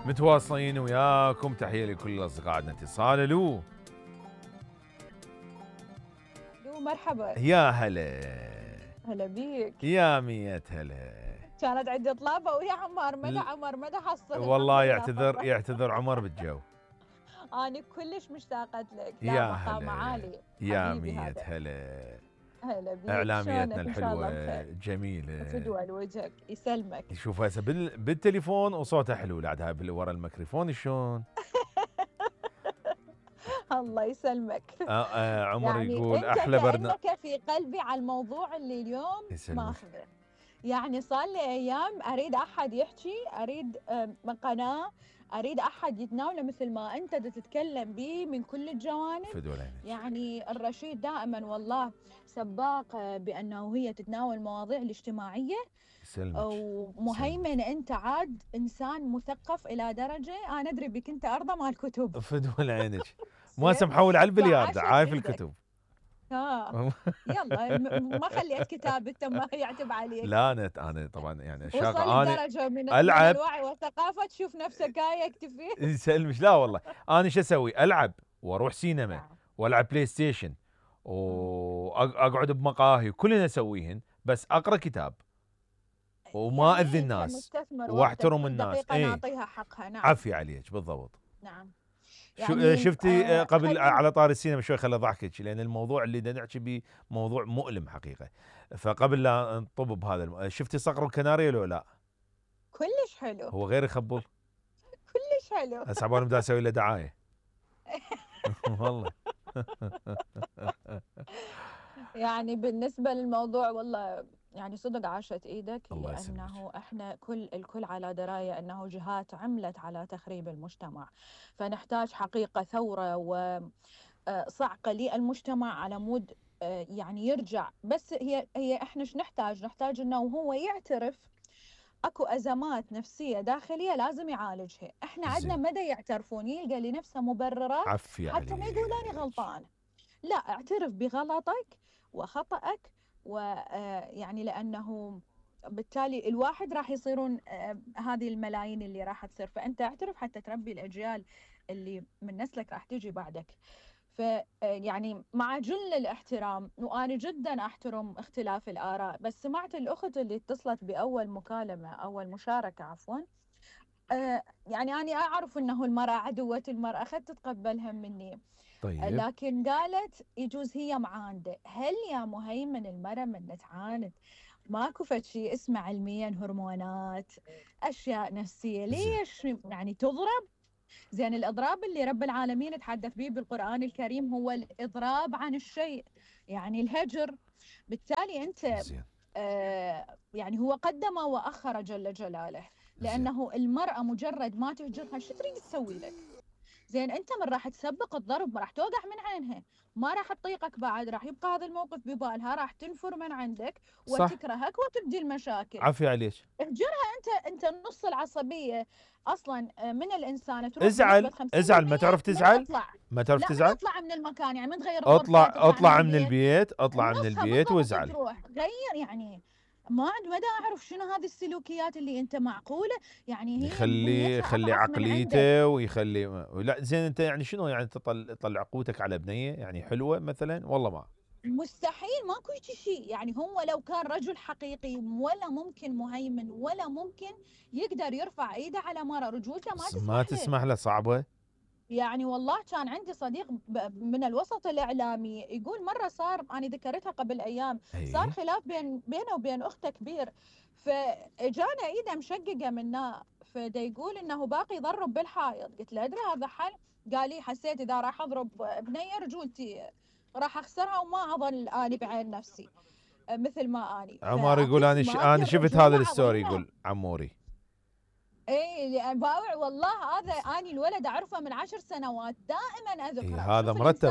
متواصلين وياكم، تحية لكل الأصدقاء. عندنا اتصال. الو مرحبا. يا هلا. هلا بيك. يا مية هلا. كانت عندي طلابة ويا عمار مدى حصل. والله يعتذر عمر بالجو. أنا كلش مشتاقة لك. يا مقام عالي. يا مية هلا. هلا بيك. اعلاميتنا الحلوه جميله. فدوى لوجهك يسلمك. شوف هسه بالتليفون وصوتها حلو، بعدها ورا الميكروفون شلون؟ الله يسلمك. عمر يعني يقول احلى برنامج. كأنك في قلبي على الموضوع اللي اليوم ماخذه. يعني صار لي ايام اريد احد يحكي، اريد قناه، اريد احد يتناوله مثل ما انت تتكلم به من كل الجوانب. يعني الرشيد دائما والله سباق بانه هي تتناول المواضيع الاجتماعيه. ومهيمن انت عاد انسان مثقف الى درجه انا ادري بك انت ارضى مال الكتب. فدوى عينك. ما محول على البلياردة، عايف الكتب. يلا ما خليت كتاب انت ما يعتب عليك. لا انا طبعا يعني شاغل درجه من الوعي والثقافه تشوف نفسك هاي يكتفي. يسلمش. لا والله انا شو اسوي؟ العب واروح سينما والعب بلاي ستيشن واقعد بمقاهي، كلنا نسويهن، بس اقرا كتاب وما يعني اذي الناس واحترم الناس. نعطيها حقها. نعم. عافية عليك بالضبط. نعم. يعني شفتي قبل على طار السينما شوي خلي ضحكك، لان الموضوع اللي بدنا نحكي به موضوع مؤلم حقيقه. فقبل لا نطب بهذا شفتي صقر الكناريا لو لا؟ كلش حلو. هو غير يخبل. كلش حلو. هسه عبالي بدي اسوي له دعايه. والله. يعني بالنسبه للموضوع والله يعني صدق عاشت ايدك، لانه احنا الكل على درايه انه جهات عملت على تخريب المجتمع، فنحتاج حقيقه ثوره وصعقه للمجتمع على مود يعني يرجع. بس هي احنا ايش نحتاج انه هو يعترف اكو ازمات نفسيه داخليه لازم يعالجها. احنا عندنا مدى يعترفون يلقى لنفسه مبررات حتى ما يقول انا غلطان. لا، اعترف بغلطك وخطأك، ويعني لأنه بالتالي الواحد راح يصيرون هذه الملايين اللي راح تصير، فأنت اعترف حتى تربي الأجيال اللي من نسلك راح تجي بعدك. فيعني مع جل الاحترام، وأنا جدا أحترم اختلاف الآراء، بس سمعت الأخت اللي اتصلت بأول مكالمة أول مشاركة عفوا، يعني أنا أعرف أنه المرأة عدوة المرأة، أخذت تتقبلها مني. طيب. لكن قالت يجوز هي معاندة. هل يا مهيمن المرأة من تعاند ماكو فد شيء اسمه علميا هرمونات أشياء نفسية؟ ليش يعني تضرب؟ زين الإضراب اللي رب العالمين تحدث به بالقرآن الكريم هو الإضراب عن الشيء، يعني الهجر. بالتالي أنت يعني هو قدم وأخر جل جلاله، لأنه المرأة مجرد ما تهجرها شو تريد تسوي لك؟ زين انت من راح تسبق الضرب، ما راح توقع من عينها، ما راح تطيقك بعد، راح يبقى هذا الموقف ببالها، راح تنفر من عندك وتكرهك وتبدي المشاكل. عافية عليك. اهجرها انت نص العصبيه اصلا من الانسان تروح. ازعل ما تعرف تزعل. ما تعرف تزعل. اطلع من المكان، يعني من تغير اطلع من البيت وازعل. غير يعني ما عند مدى اعرف شنو هذه السلوكيات اللي انت معقوله يعني هي يخلي عقليته ويخلي. لا زين انت يعني شنو يعني تطلع قوتك على بنيه يعني حلوه مثلا؟ والله ما مستحيل، ماكو شيء. يعني هو لو كان رجل حقيقي ولا ممكن مهيمن ولا ممكن يقدر يرفع ايده على مرة، رجولته ما تسمح له صعبه. يعني والله كان عندي صديق من الوسط الإعلامي يقول مرة صار، أنا ذكرتها قبل أيام، صار خلاف بينه وبين أخته كبير، فجانا إيده مشققة منه، فدا يقول إنه باقي يضرب بالحائط. قلت له أدري هذا حل؟ قال لي حسيت إذا راح أضرب بنية رجولتي راح أخسرها وما أظل أني بعين نفسي مثل ما أني. عمار يقول أنا شفت هذا الستوري، يقول عموري اي باوع والله. هذا اني الولد اعرفه من 10 سنوات دائما اذكره. هذا مرتب،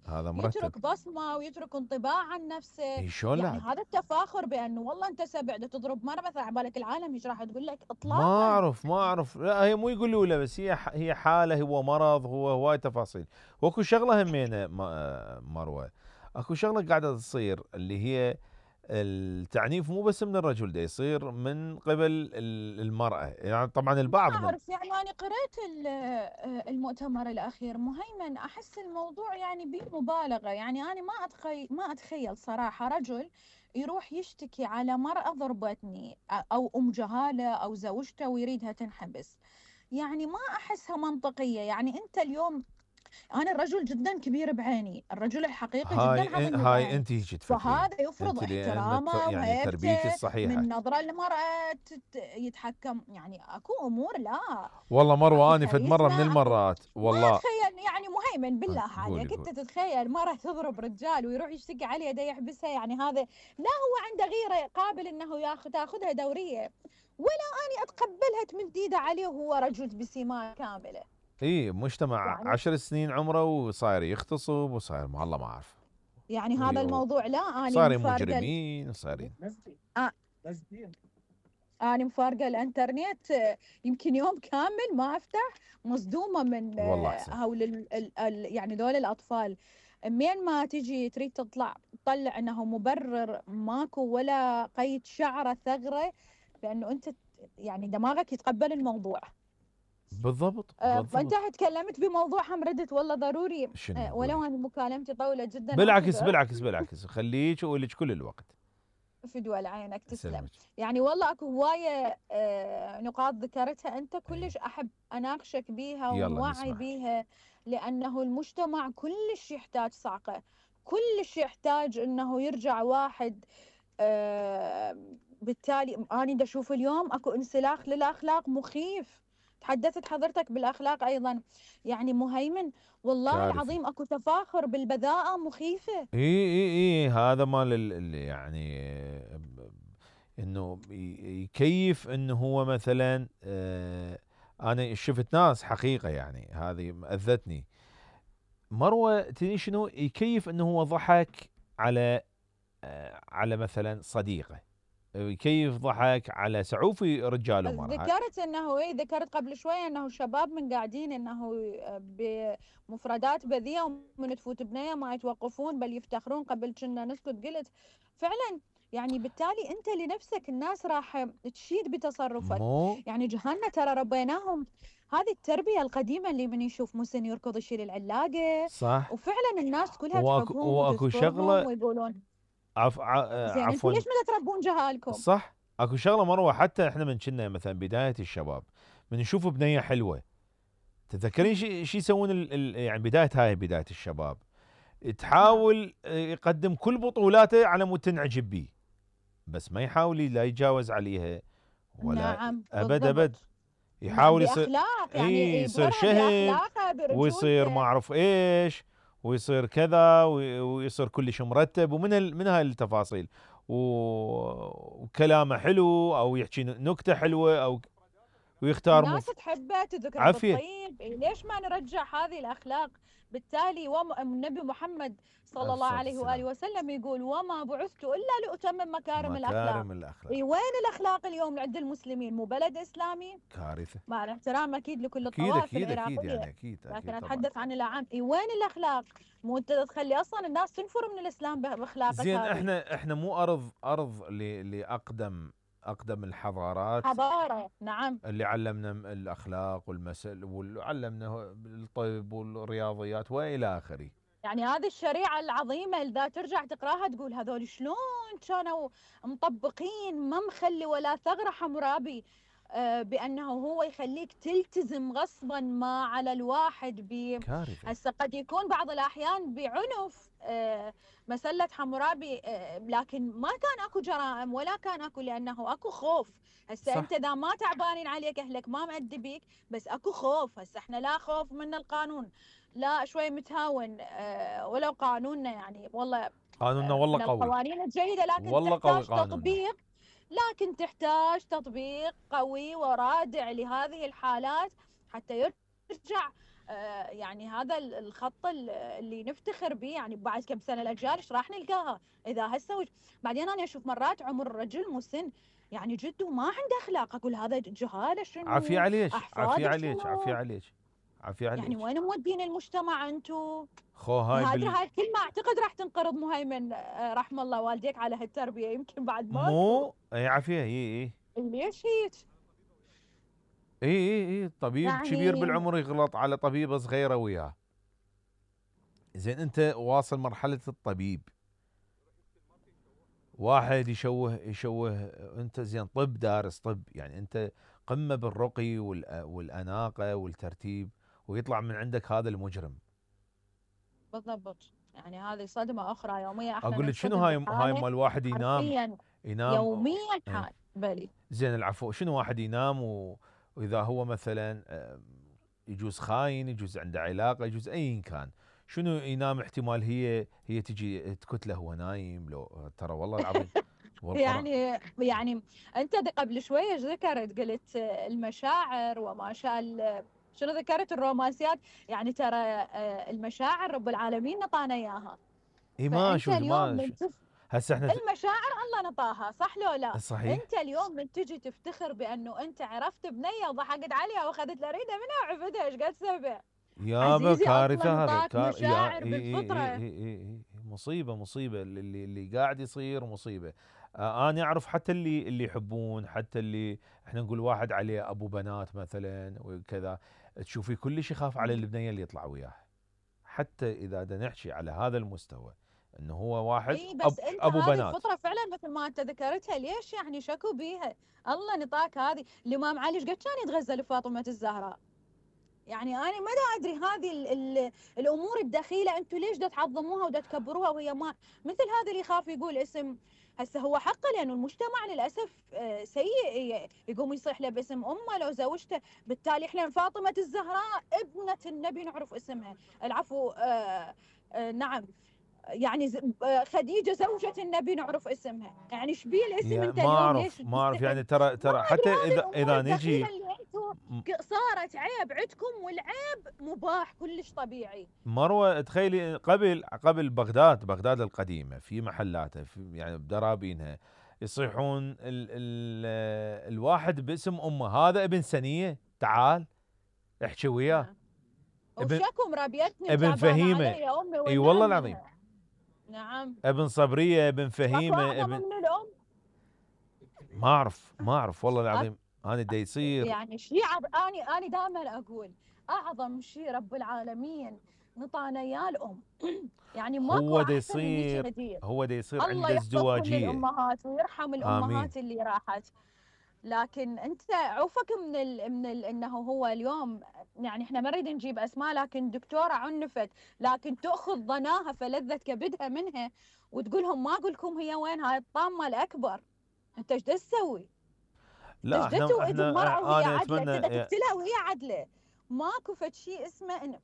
هذا يترك بصمه ويترك انطباع عن نفسه. شلون يعني هذا التفاخر بانه والله انت سبع تضرب مره مثلا على بالك العالم ايش راح تقول لك؟ اطلاقا ما اعرف. لا هي مو يقولوا له، بس هي حاله، هو مرض، هو هواي تفاصيل. واكو شغله همينه مروه، اكو شغله قاعده تصير اللي هي التعنيف مو بس من الرجل، ده يصير من قبل المرأة. يعني طبعا البعض ما أعرف، يعني أنا قرأت المؤتمر الأخير مهيمن، أحس الموضوع يعني به مبالغة. يعني أنا ما أتخيل صراحة رجل يروح يشتكي على مرأة ضربتني أو أم جهالة أو زوجته ويريدها تنحبس. يعني ما أحسها منطقية. يعني أنت اليوم، أنا الرجل جدا كبير بعيني، الرجل الحقيقي جدا عظيم هاي بعيني، انت هيك تفكرين، فهذا يفرض انت لان احترامه يعني تربيتك وهيبته الصحيحه. من نظرة للمرأة يتحكم. يعني اكو امور لا، والله اكو مروه، اني فد مره كاريزما، من اكو. المرات ما والله. اتخيل يعني مهيمن بالله قولي عليك، انت قولي. تتخيل مرة تضرب رجال ويروح يشتكي عليها دا يحبسها؟ يعني هذا لا هو عنده غيرة قابل انه تاخذها دورية، ولا اني اتقبلها تمد ايده عليه وهو رجل بسمات كاملة. اي مجتمع يعني 10 سنين عمره وصاير يغتصب وصاير والله ما اعرف. يعني هذا الموضوع لا، اني صايرين مفارقة. مجرمين صايرين. أنا مفارقة الإنترنت يمكن يوم كامل ما أفتح، مصدومة من والله احسن. هول يعني دول الأطفال. مين ما تجي تريد تطلع أنه مبرر، ماكو ولا قيد شعرة ثغرة بأنه أنت يعني دماغك يتقبل الموضوع. بالضبط فأنت بالضبط. تكلمت بموضوع هم ردت والله ضروري. شنو ولو قولي؟ أن مكالمتي طويلة جدا بالعكس أعتذر. بالعكس بالعكس، خليك اقول لك كل الوقت. في دول عينك تسلم. سلمك. يعني والله اكو هوايه نقاط ذكرتها انت كلش ايه. احب اناقشك بيها يلا ونوعي نسمع. بيها، لانه المجتمع كلش يحتاج صعقه، كلش يحتاج انه يرجع واحد. بالتالي انا دا اشوف اليوم اكو انسلاخ للاخلاق مخيف. تحدثت حضرتك بالاخلاق ايضا، يعني مهيمن والله كارثي. العظيم اكو تفاخر بالبذاءه مخيفه. اي هذا مال يعني انه يكيف انه هو مثلا انا شفت ناس حقيقه يعني هذه اذتني. مروه تدري شنو يكيف انه هو ضحك على على مثلا صديقه، يكيف ضحك على سعوفي رجال ومراه. ذكرت انه ذكرت قبل شويه انه شباب من قاعدين انه بمفردات بذيئه، ومن تفوت بنيه ما يتوقفون بل يفتخرون. قبل كنا نسكت، قلت فعلا. يعني بالتالي انت لنفسك الناس راح تشيد بتصرفك. مو يعني جهالنا ترى ربيناهم هذه التربيه القديمه، اللي من يشوف مسن يركض يشيل العلاقه. صح. وفعلا الناس كلها تحبهم واكو وتذكرهم شغله ويقولون عف... زين انتم عفوا. ليش ما تربون جهالكم؟ صح. اكو شغله مروه، حتى احنا من كنا مثلا بدايه الشباب من نشوف بنيه حلوه، تتذكرين شي يسوون يعني بدايه الشباب، تحاول يقدم كل بطولاته على مود تنعجب بيه، بس ما يحاول لا يتجاوز عليها ولا نعم ابد ابد. بالضبط. يحاول يصير باخلاق، اي يعني يصير يبهرها شهم، باخلاقه ويصير ما برجولته. اعرف ايش، ويصير كذا ويصير كلش مرتب، من هاي التفاصيل، وكلامه حلو او يحكي نكته حلوه او ويختار الناس تحبه تذكره عافيه. بالطيب. ليش ما نرجع هذه الاخلاق؟ بالتالي النبي محمد صلى الله الصلاة عليه واله والسلام. وسلم يقول وما بعثت الا لاتمم مكارم الاخلاق. مكارم الاخلاق. وين الاخلاق اليوم عند المسلمين؟ مو بلد اسلامي؟ كارثه. مع الاحترام اكيد لكل اكيد الطوائف اكيد اكيد العراقيه، يعني اكيد لكن اكيد طبعا. اتحدث عن العام. وين الاخلاق؟ مو انت تخلي اصلا الناس تنفر من الاسلام باخلاقك زين هذه. احنا مو ارض اقدم الحضارات حضاره، نعم. اللي علمنا الاخلاق والمثل وعلمنا الطب والرياضيات والى اخره. يعني هذه الشريعة العظيمة إذا ترجع تقراها تقول هذول شلون كانوا مطبقين، ما مخلي ولا ثغرة حمرابي بأنه هو يخليك تلتزم غصبا ما على الواحد كارثه. هسه قد يكون بعض الأحيان بعنف مسلة حمورابي، لكن ما كان اكو جرائم ولا كان اكو، لأنه اكو خوف. هسه أنت إذا ما تعبانين عليك أهلك ما مأدبيك، بس اكو خوف. هسه احنا لا خوف من القانون، لا شوي متهاون. ولو قانوننا يعني والله قانوننا والله من قوي. القوانين الجيدة، لكن والله قوي تحتاج قانوننا. تطبيق. لكن تحتاج تطبيق قوي ورادع لهذه الحالات حتى يرجع يعني هذا الخط اللي نفتخر به. يعني بعد كم سنة الأجيال ايش راح نلقاها إذا هسه بعدين أنا أشوف مرات عمر الرجل مسن يعني جد وما عنده أخلاق، أقول هذا جهالة شنو؟ عافية عليك عافية أحفاد عليك شنو؟ عافية عليك عافية عليك. يعني وين مودين المجتمع انتم؟ خو هاي هاي الكلمة اعتقد راح تنقرض مهيمن، رحم الله والديك على هالتربية، يمكن بعد ماكو. مو اي عافية اي ليش هيك؟ اي طبيب يعني كبير بالعمر يغلط على طبيبة صغيرة وياه. زين انت واصل مرحلة الطبيب، واحد يشوه انت زين طب دارس طب، يعني انت قمة بالرقي والأناقة والترتيب، ويطلع من عندك هذا المجرم. بالضبط، يعني هذه صدمة أخرى يومية احنا اقول لك شنو ننصدم هاي بحالة مال واحد حرفيا ينام يوميا ايه. حال بلي. زين العفو، شنو واحد ينام واذا هو مثلا يجوز خاين، يجوز عنده علاقة، يجوز ايا كان، شنو ينام احتمال هي تجي تكتله وهو نايم، لو ترى والله العظيم يعني انت قبل شويه ذكرت قلت المشاعر وما شاء شنو ذكرت الرومانسيات، يعني ترى المشاعر رب العالمين نطانا اياها. اي فانت اليوم من هسه احنا المشاعر الله نطاها، صح لو لا؟ صحيح. انت اليوم من تجي تفتخر بانه انت عرفت بنيه وضحكت عليها واخذت لها ريده منها وعفتها، ايش قد سبه؟ يابا كارثه هذا، مشاعر بالفطره. مصيبه اللي قاعد يصير مصيبه. انا اعرف حتى اللي يحبون، حتى اللي احنا نقول واحد عليه ابو بنات مثلا وكذا، تشوفي كلش يخاف على البنيه اللي يطلع وياه، حتى اذا بدنا نحكي على هذا المستوى انه هو واحد بس انت ابو هذه بنات. الفطره فعلا مثل ما انت ذكرتها، ليش يعني شكوا بيها؟ الله نطاك هذه. الامام علي ايش قد كان يتغزل لفاطمه الزهراء؟ يعني انا ما ادري هذه الامور الدخيله انتم ليش دا تعظموها ودا تكبروها وهي ما مثل هذا اللي يخاف يقول اسم. هسه هو حقه لانه المجتمع للاسف سيء، يقوم يصيح له باسم امه لو زوجته. بالتالي احنا فاطمه الزهراء ابنه النبي نعرف اسمها، العفو نعم، يعني خديجه زوجة النبي نعرف اسمها، يعني ايش بيه الاسم انت اليوم ليش ما اعرف يعني ترى حتى اذا نجي صارت عيب عندكم، والعيب مباح كلش طبيعي. مروه تخيلي قبل بغداد القديمه في محلاتها، في يعني بدرابينها يصيحون الواحد باسم امه، هذا ابن سنيه تعال احكي وياه. وشكم ربيتني ابن فهيمه، اي والله العظيم. نعم. ابن صبريه، ابن فهيمه، ابن من الام. ما اعرف والله العظيم. انا دا يصير يعني شيء اني دائما اقول اعظم شيء رب العالمين نطانا اياه الام. يعني ماكو احسن من هيك هديه. هو دا يصير الله عنده ازدواجيه. الامهات ويرحم الامهات اللي راحت. لكن انت عوفك من انه هو اليوم، يعني احنا ما نريد نجيب اسماء، لكن دكتوره عنفت، لكن تاخذ ضناها فلذة كبدها منها وتقولهم ما اقول لكم هي وين، هاي الطامه الاكبر. انت ايش تسوي؟ لا احنا انا اتمنى تقتلها وهي عدله. ماكو فد شيء اسمه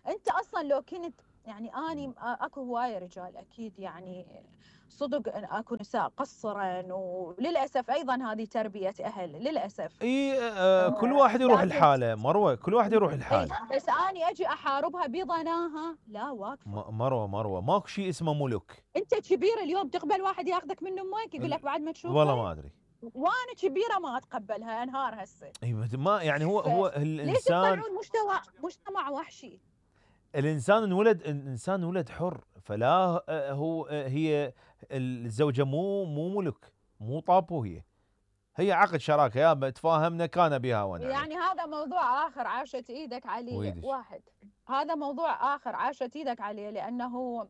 انت اصلا لو كنت، يعني اني اكو هوايه رجال اكيد، يعني صدق اكو نساء قصرا، وللاسف ايضا هذه تربيه اهل للاسف. كل واحد يروح الحاله مروه، كل واحد يروح الحاله. بس اني اجي احاربها بضناها لا واقفه. مروه ماكو شيء اسمه ملك. انت كبير اليوم تقبل واحد ياخذك من امك يقول لك بعد ما تشوفه؟ والله ما ادري. وانا كبيره ما اتقبلها، انهار هسه. اي ما يعني هو الانسان ليش تطلعون مجتمع وحشي؟ الانسان ولد حر، فلا هي الزوجه مو ملك، مو طابو، هي عقد شراكه، يا تفاهمنا كان بها وانا يعني هذا موضوع اخر عاشت ايدك عليه واحد. هذا موضوع اخر عاشت ايدك عليه، لانه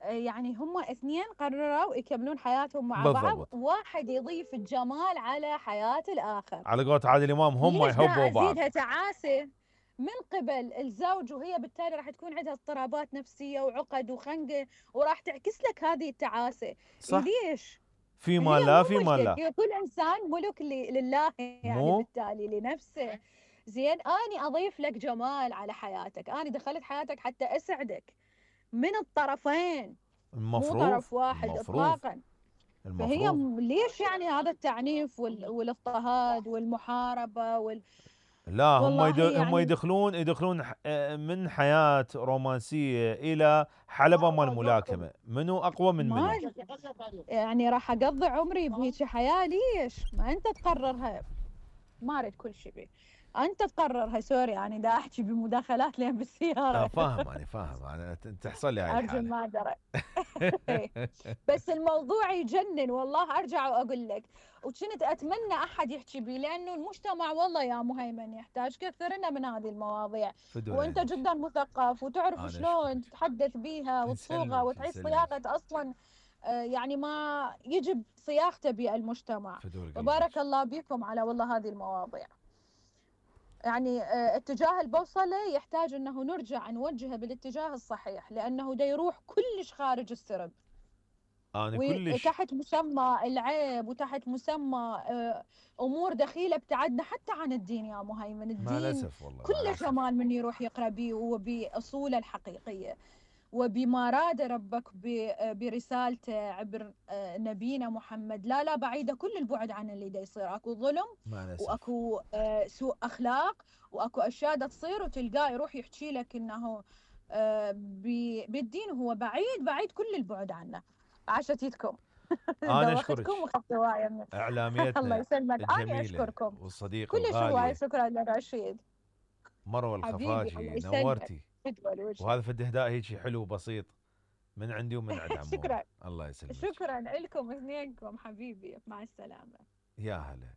يعني هم اثنين قرروا يكملون حياتهم مع بعض، واحد يضيف الجمال على حياة الآخر. على قولة عادل إمام هم يحبوا بعض. زيدها تعاسة من قبل الزوج، وهي بالتالي راح تكون عندها اضطرابات نفسية وعقد وخنقة، وراح تعكس لك هذه التعاسة. صح. ليش؟ فيما لا كل إنسان ملك لله، يعني بالتالي لنفسه. زين، أنا أضيف لك جمال على حياتك، أنا دخلت حياتك حتى أسعدك من الطرفين، مو طرف واحد اطلاقا. فهي ليش يعني هذا التعنيف والاضطهاد والمحاربه لا هم يدخلون من حياه رومانسيه الى حلبه مال ملاكمه، منو اقوى من منو؟ يعني راح اقضي عمري بهيك حياه؟ ليش ما انت تقررها؟ ما اريد كل شيء بي. انت تقرر. سوري يعني دا احكي بمداخلات لين بالسياره. فاهم انا تحصل لي هاي ارجو الحاله. ما درى. بس الموضوع يجنن والله. ارجع واقول لك، وكنت اتمنى احد يحكي بي، لانه المجتمع والله يا مهيمن يحتاج كثرنا من هذه المواضيع. وانت عينك. جدا مثقف وتعرف شلون أشكرك. تتحدث بيها وتصوغها وتعيد يسلمك. صياغه اصلا يعني ما يجب صياغته بالمجتمع. وبارك الله بكم على والله هذه المواضيع. يعني اتجاه البوصلة يحتاج أنه نرجع نوجهه بالاتجاه الصحيح، لأنه دا يروح كلش خارج السرب. أنا كلش وتحت مسمى العيب وتحت مسمى أمور دخيلة ابتعدنا حتى عن الدين يا مهيمن. الدين كله جمال من يروح يقرأ بيه وبأصوله الحقيقية وبما راد ربك برسالته عبر نبينا محمد. لا بعيدة كل البعد عن اللي دا يصير. اكو ظلم واكو سوء اخلاق واكو اشياء دا تصير وتلقاه يروح يحكي لك انه بالدين هو بعيد كل البعد عنه. عاشتيتكم. انا اشكرك اعلاميتنا الله يسلمك. انا اشكركم والصديق كلش هواي. شكرا لرشيد. مروه الخفاجي نورتي. وهذا فد اهداء هيك حلو بسيط من عندي ومن عند عمو. شكرا. الله يسلمك. شكرا لكم اثنينكم حبيبي. مع السلامه. يا هلا.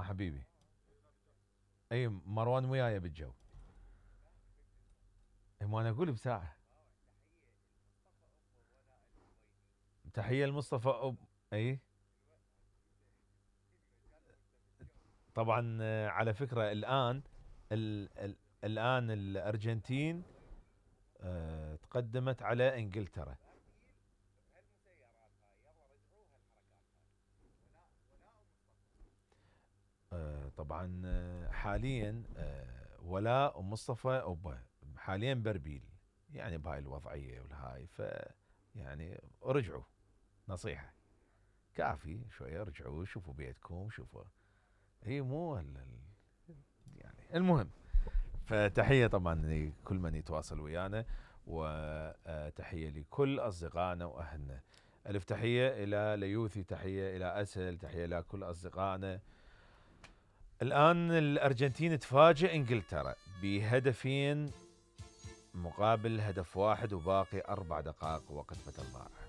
حبيبي. اي مروان وياي بالجو. ما انا اقول بساعه. تحيه لمصطفى اي طبعا. على فكره الان الان الارجنتين تقدمت على انجلترا. طبعا حاليا ولاء ومصطفى حاليا بربيل يعني بهاي الوضعيه والهاي. ف يعني رجعوا نصيحه كافي شويه. رجعوا شوفوا بيتكم شوفوا. هي مو يعني المهم. فتحيه طبعا لكل من يتواصل ويانا وتحيه لكل اصدقائنا واهلنا. الف تحيه الى ليوثي. تحيه الى اسهل. تحيه الى كل اصدقائنا. الان الارجنتين تفاجئ انجلترا بهدفين مقابل هدف واحد وباقي 4 دقائق وقت بدل ضائع.